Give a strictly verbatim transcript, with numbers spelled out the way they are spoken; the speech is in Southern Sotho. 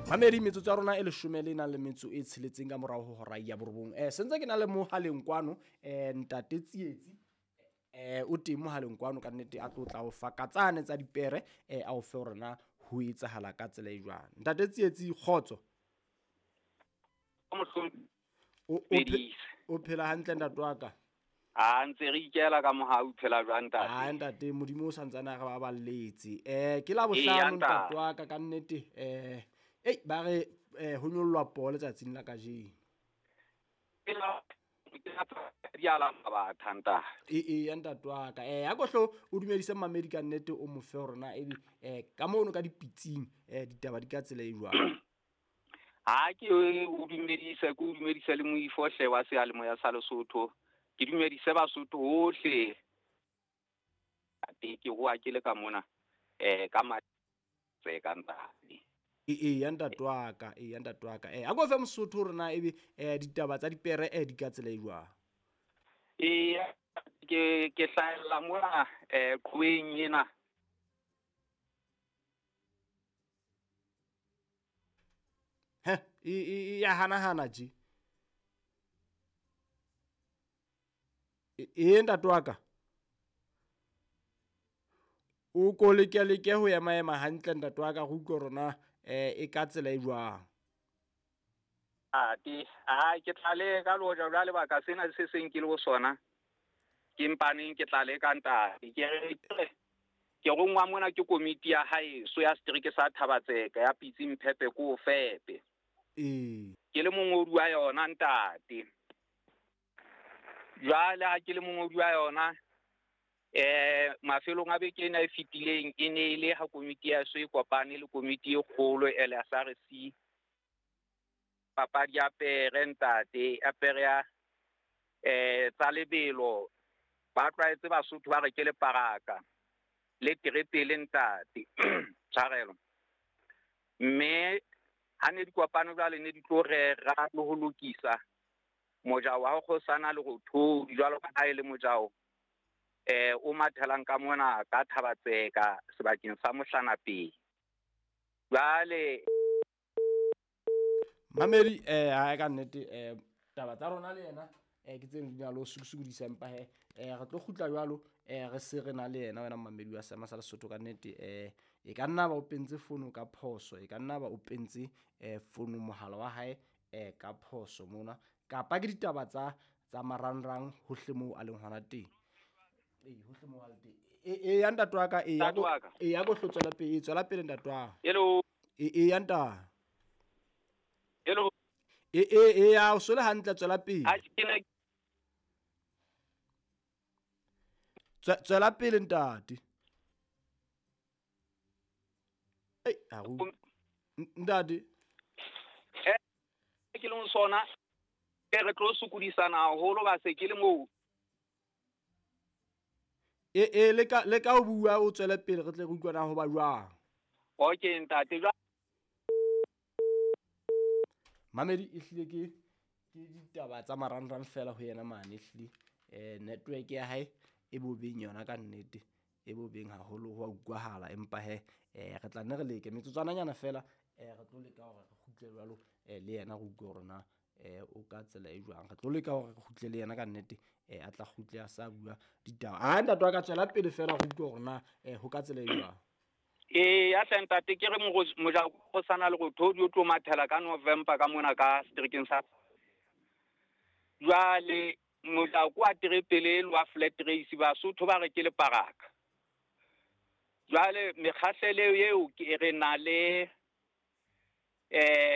Mamedi metsotso ya rona e leshome le nang le metso e tsheletseng ka morao ho hora ya borobong. Eh sentse ke na le mohaleng kwano eh ntate Tsietsi eh o teng mohaleng kwano ka nnete a tlo tla o fa ka tsane tsa dipere eh a o fe hore na ho etsahala ka tsela e jwang. Ntate Tsietsi kgotso. O o phela hantle ntate wa ka? A ntse re ikela ka mohau phela jwang ntate? Ah ntate Modimo o santsane a re ba balletse. Eh ke la bohlano ntate wa ka ka nnete eh ei ba re eh ho nyollwa poo letsatsing la kajeno. Ke la ke la ba thanta. E e ya ntate wa ka. Eh a kohlo o dumedise mamedi ka nnete o mo fe hore na ebe eh ka mono ka dipitsing eh ditaba di ka tsela e jwang. Ha ke o dumedise ke o dumedise le moifohle wa seyalemoya sa Lesotho. Ke dumedise Basotho hohle. Ate ke hoa ke le ka mona eh ka matse ka ntate. E e ya ntate wa ka, e ya ntate wa ka. Eh a go fe Mosotho hore na ebe eh ditaba tsa dipere eh di ka tsela e jwang. E ke ke hlahella mona eh qhoweng ena. He e e ya hana hana ji. E e ntate wa ka. O ko leke leke ho ema ema hantle ntate wa ka go utlwa rona eh e ka tsela e jwang. Ate a ke tla le ka loja jwale baka sena se seng ke le ho sona. Ke mpaneng ke tla le ka ntate. Ke re ke rongwa mona ke komiti ya hae so ya setereke sa Thabatseka ya Pitsi Mphepe ko Fepe. Eh ke le mongodi wa yona ntate. Jwale ha ke le mongodi wa yona eh mafelong a beke ena e fetileng e ne ile ha komiti ya so e kopane le komiti e kgolo L S R C papadi ya pere ntate ya pere ya eh tsa lebelo ba tlwaetse Basotho ba re ke le paraka le terepele ntate tshwarelo mme ha ne dikopano jwale ne di tlo rera le ho lokisa mojao wa kgosana le go thodi jwalo ka ha e le mojao eh o mathelang ka mona ka Thabatseka sebakeng sa Mohlanapeng. Jwale Mamedi eh ha ka nnete eh taba tsa rona le yena eh ke tseng di na lo sukudisa empa he eh re tlo kgutla jwalo eh re se re na le yena wena mamedi wa Seema sa Lesotho ka nnete eh e ka nna ba o pentse fono ka phoso e ka nna ba o pentse eh fono mohala wa hae eh ka phoso mona kapa ke ditaba tsa tsa marangrang hohle moo a leng hona teng. E hohle moo a leng teng. E e ya ntate wa ka e ya go e ya go hlotswela pele e tswela pele ntate wa. Hello. E e ya ntate. Hello. E e e ya o sole hantle tswela pele. A ke ne tswela pele ntate. Ei a go ntate. Eh ke le sona ke re tlo sukudisana haholo ba se ke le moo. E e le ka le ka o bua o tswele pele re tle re utlwana ho ba jwang. Okay ntate. Mamedi e hlile ke ke ditaba tsa marangrang fela ho yena mane hlile eh network ya hae e bobeng yona ka nnete e bobeng haholo ho a utlwahala empa he eh re tla nne re leke metsotswananyana fela eh re tlo leka hore re kgutle jwalo eh le yena re utlwe hore na eh o ka tsela e jwang re tlo leka hore re kgutle le yena ka nnete eh a tla kgutle a sa bua ditaba a ntate wa ka tswela pele fela re utlwe hore na eh ho ka tsela e jwang. E ya hle ntate ke re moja go sana le go thodi o tlo mathela ka November ka mona ka seterekeng sa jwale moja kwa terepele wa flat race Basotho ba re ke le paraka. Jwale mekgahlelo eo ke re na le eh